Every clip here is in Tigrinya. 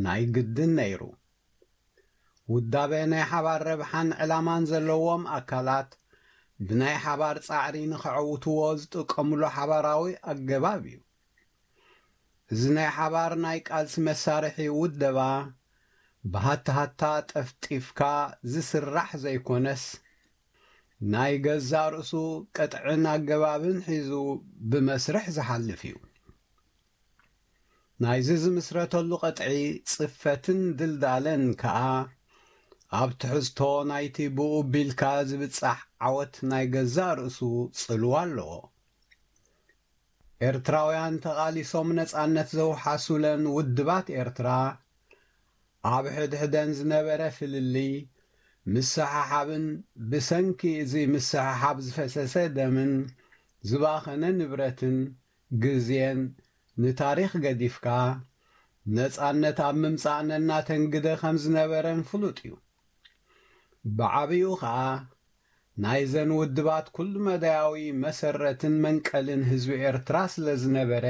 ናይ ግድን ነይሩ። ውዳበ ናይ ሓባር ረብሓን ዕላማን ዘለዎም ኣካላት ብናይ ሓባር ጻዕሪ ንኸዐውትዎ ዝጥቀምሉ ሓባራዊ ኣገባብ እዩ። እዚ ናይ ሓባር ናይ ቃልሲ መሳርሒ ውደባ ብሃታሃታ ጠፍጢፍካ ዝስራሕ ዘይኮነስ፣ ናይ ገዛእ ርእሱ ቅጥዕን ኣገባብን ሒዙ ብመስርሕ ዝሓልፍ እዩ። ናይዚ ዝምስረተሉ ቅጥዒ ጽፈትን ድልዳለን ከኣ ኣብ ትሕዝቶ ናይቲ ብኡ ቢልካ ዝብጻሕ ዓወት ናይ ገዛእ ርእሱ ጽልዋ ኣለዎ። ኤርትራውያን ተቓሊሶም ነጻነት ዘውሓሱለን ውድባት ኤርትራ፣ ኣብ ሕድሕደን ዝነበረ ፍልልይ ምስሕሓብን ብሰንኪ እዚ ምስሕሓብ ዝፈሰሰ ደምን ዝባኸነ ንብረትን ግዜን ንታሪኽ ገዲፍካ፣ ነጻነት ኣብ ምምጻእ ነናተን ግደ ከም ዝነበረን ፍሉጥ እዩ። ብዓቢኡ ኸኣ፣ ናይዘን ውድባት ኩሉ መዳያዊ መሰረትን መንቀልን ህዝቢ ኤርትራ ስለ ዝነበረ፣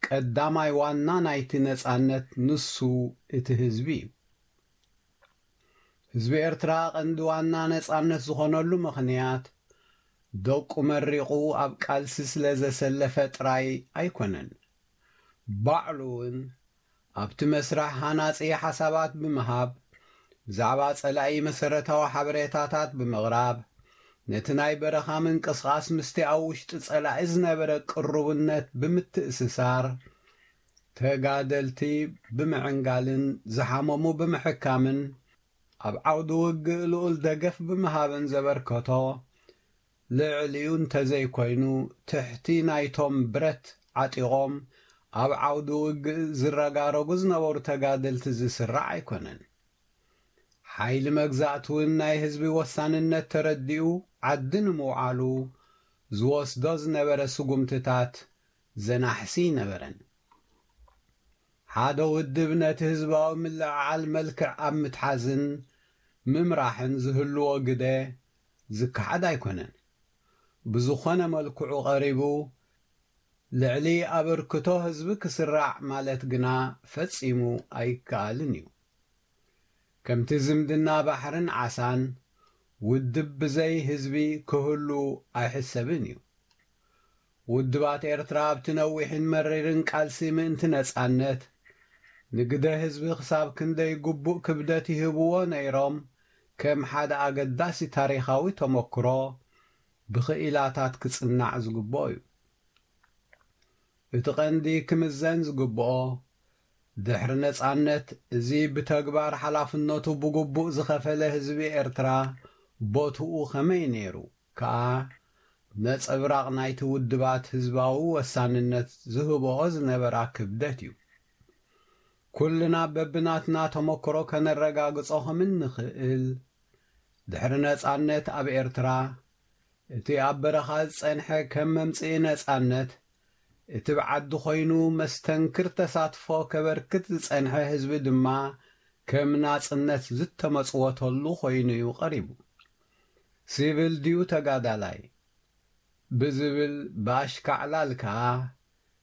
ቀዳማይ ዋና ናይቲ ነጻነት ንሱ እቲ ህዝቢ እዩ። ህዝቢ ኤርትራ ቀንዲ ዋና ነጻነት ዝኾነሉ ምኽንያት፣ ደቁ መሪቑ ኣብ ቃልሲ ስለ ዘሰለፈ ጥራይ ኣይኮነን። ባዕሉ እውን ኣብቲ መስርሕ ሃናጺ ሓሳባት ብምሃብ፣ ብዛዕባ ጸላኢ መሰረታዊ ሓበሬታታት ብምቕራብ፣ ነቲ ናይ በረኻ ምንቅስቓስ ምስቲ ኣብ ውሽጢ ጸላኢ ዝነበረ ቅሩብነት ብምትእስሳር፣ ተጋደልቲ ብምዕንጋልን ዝሓመሙ ብምሕካምን፣ ኣብ ዓውዲ ውግእ ልኡል ደገፍ ብምሃብን ዘበርከቶ፣ ልዕሊኡ እንተዘይኮይኑ፣ ትሕቲ ናይቶም ብረት ዓጢቖም ኣብ ዓውዲ ውግእ ዝረጋረጉ ዝነበሩ ተጋደልቲ ዝስራዕ ኣይኮነን። ሓይሊ መግዛእቲ እውን ናይ ህዝቢ ወሳንነት ተረዲኡ ዓዲ ንምውዓሉ ዝወስዶ ዝነበረ ስጉምትታት ዘናሕሲ ኣይነበረን። ሓደ ውድብ ነቲ ህዝባዊ ምልዕዓል መልክዕ ኣብ ምትሓዝን ምምራሕን ዝህልዎ ግደ ዝከሓድ ኣይኮነን። ብዝኾነ መልክዑ ቀሪቡ ልዕሊ ኣበርክቶ ህዝቢ ክስራዕ ማለት ግና ፈጺሙ ኣይከኣልን እዩ። ከምቲ ዝምድና ባሕርን ዓሳን፣ ውድብ ብዘይ ህዝቢ ክህሉ ኣይሕሰብን እዩ። ውድባት ኤርትራ ኣብቲ ነዊሕን መሪርን ቃልሲ ምእንቲ ነጻነት፣ ንግደ ህዝቢ ክሳብ ክንደይ ግቡእ ክብደት ይህብዎ ነይሮም፣ ከም ሓደ ኣገዳሲ ታሪኻዊ ተመክሮ ብኽኢላታት ክጽናዕ ዝግብኦ እዩ። እቲ ቀንዲ ክምዘን ዝግብኦ፣ ድሕሪ ነጻነት፣ እዚ ብተግባር ሓላፍነቱ ብግቡእ ዝኸፈለ ህዝቢ ኤርትራ ቦትኡ ከመይ ነይሩ? ከኣ ነጸብራቕ ናይቲ ውድባት ህዝባዊ ወሳንነት ዝህብኦ ዝነበራ ክብደት እዩ። ኩልና በብናትና ተመክሮ ከነረጋግጾ ከም እንኽእል፣ ድሕሪ ነጻነት ኣብ ኤርትራ፣ እቲ ኣብ በረኻ ዝጸንሐ ከም መምጽኢ ነጻነት፣ እቲ ብዓዲ ኮይኑ መስተንክር ተሳትፎ ከበርክት ዝጸንሐ ህዝቢ ድማ ከም ናጽነት ዝተመጽወተሉ ኮይኑ እዩ ቀሪቡ። ሲቪል ድዩ ተጋዳላይ? ብዝብል ብኣሽካዕላል ከኣ፣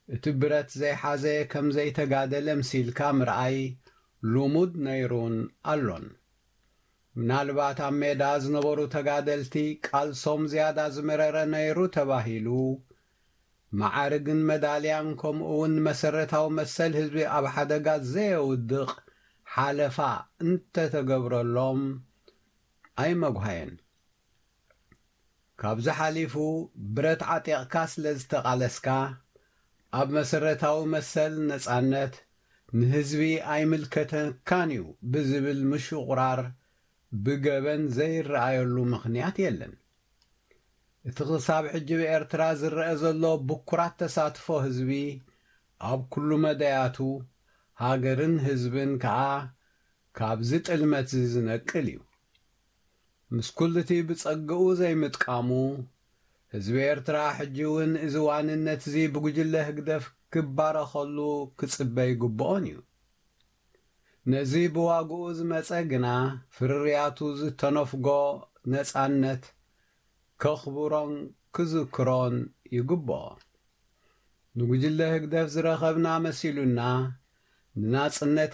እቲ ብረት ዘይሓዘ ከም ዘይተጋደለ ምሲልካ ምርኣይ ልሙድ ነይሩን ኣሎን። ምናልባት ኣብ ሜዳ ዝነበሩ ተጋደልቲ ቃልሶም ዝያዳ ዝመረረ ነይሩ ተባሂሉ፣ መዓርግን መዳልያን ከምኡ እውን መሰረታዊ መሰል ህዝቢ ኣብ ሓደጋ ዘየውድቕ ሓለፋ እንተተገብረሎም ኣይመጉሃየን። ካብዚ ሓሊፉ ብረት ዓጢቕካ ስለ ዝተቓለስካ፣ ኣብ መሰረታዊ መሰል ነጻነት ንህዝቢ ኣይምልከተካን እዩ ብዝብል ምሽቑራር ብገበን ዘይረኣየሉ ምኽንያት የለን። እቲ ክሳብ ሕጂ ብኤርትራ ዝረአ ዘሎ ብኩራት ተሳትፎ ህዝቢ ኣብ ኩሉ መዳያቱ፣ ሃገርን ህዝብን ከኣ ካብዚ ጥልመትዚ ዝነቅል እዩ። ምስ ኩሉቲ ብጸግኡ ዘይምጥቃሙ፣ ህዝቢ ኤርትራ ሕጂ እውን እዚ ዋንነትዚ ብጉጅለ ህግደፍ ክባረኸሉ ክጽበ ይግብኦን እዩ። ነዚ ብዋግኡ ዝመጸ ግና፣ ፍርርያቱ ዝተነፍጎ ነጻነት ከኽብሮን ክዝክሮን ይግብኦ። ንጉጅለ ህግደፍ ዝረኸብና መሲሉና፣ ንናጽነት